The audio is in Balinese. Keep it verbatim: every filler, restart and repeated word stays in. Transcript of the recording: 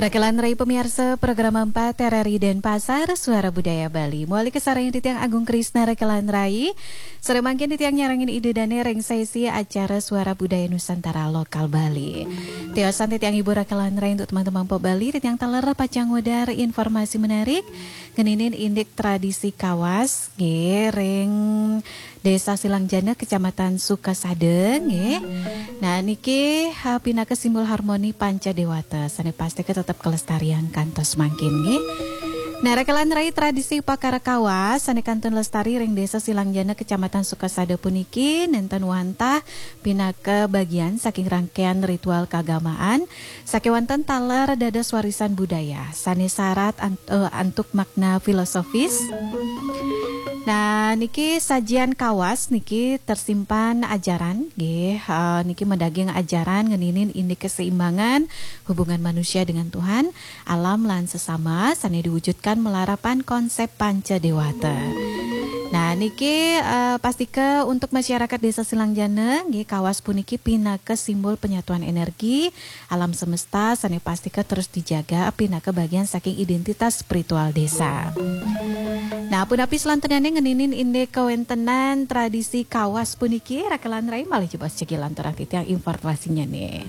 Rakelan Rai pamiarsa program empat R R I Denpasar, Suara Budaya Bali. Mawali kasarengin titiang Agung Krisna Rakelan Rai. Sareng mangkin titiang nyarengin Ida Dane ring sesi acara Suara Budaya Nusantara Lokal Bali. Tiosan titiang ibu Rakelan Rai untuk teman-teman po Bali, titiang taler pacang ngudar informasi menarik ngeninin indik tradisi Kawas, nggih, ring Desa Silangjana, Kecamatan Sukasada, nggih. Nah, niki, ha, pinaka simbol harmoni Panca Dewata. Sane pasti ka tetep kalestarian kantos mangkin, nggih. Nah, Rakelan Rai, tradisi upakara Kawas sane kantun lestari ring Desa Silangjana, Kecamatan Sukasada puniki nenten wantah pinaka bagian saking rangkaian ritual keagamaan sakewanten taler dados warisan budaya sane sarat an-, eh, antuk makna filosofis. Nah, niki sajian Kawas niki tersimpan ajaran, nggih, eh, niki madaging ajaran ngeninin indik keseimbangan hubungan manusia dengan Tuhan, alam lan sesama sane diwujudkan malarapan konsep Panca Dewata. Nah, niki, eh, pastika untuk masyarakat Desa Silangjana, nggih, Kawas puniki pinaka simbol penyatuan energi alam semesta sane pastika terus dijaga pinaka bagian saking identitas spiritual desa. Nah, punapi selanturnyane ngeninin indik kawentenan tradisi Kawas puniki, Rakelan Rai malih jebos cegilan turang titiang informasinyane.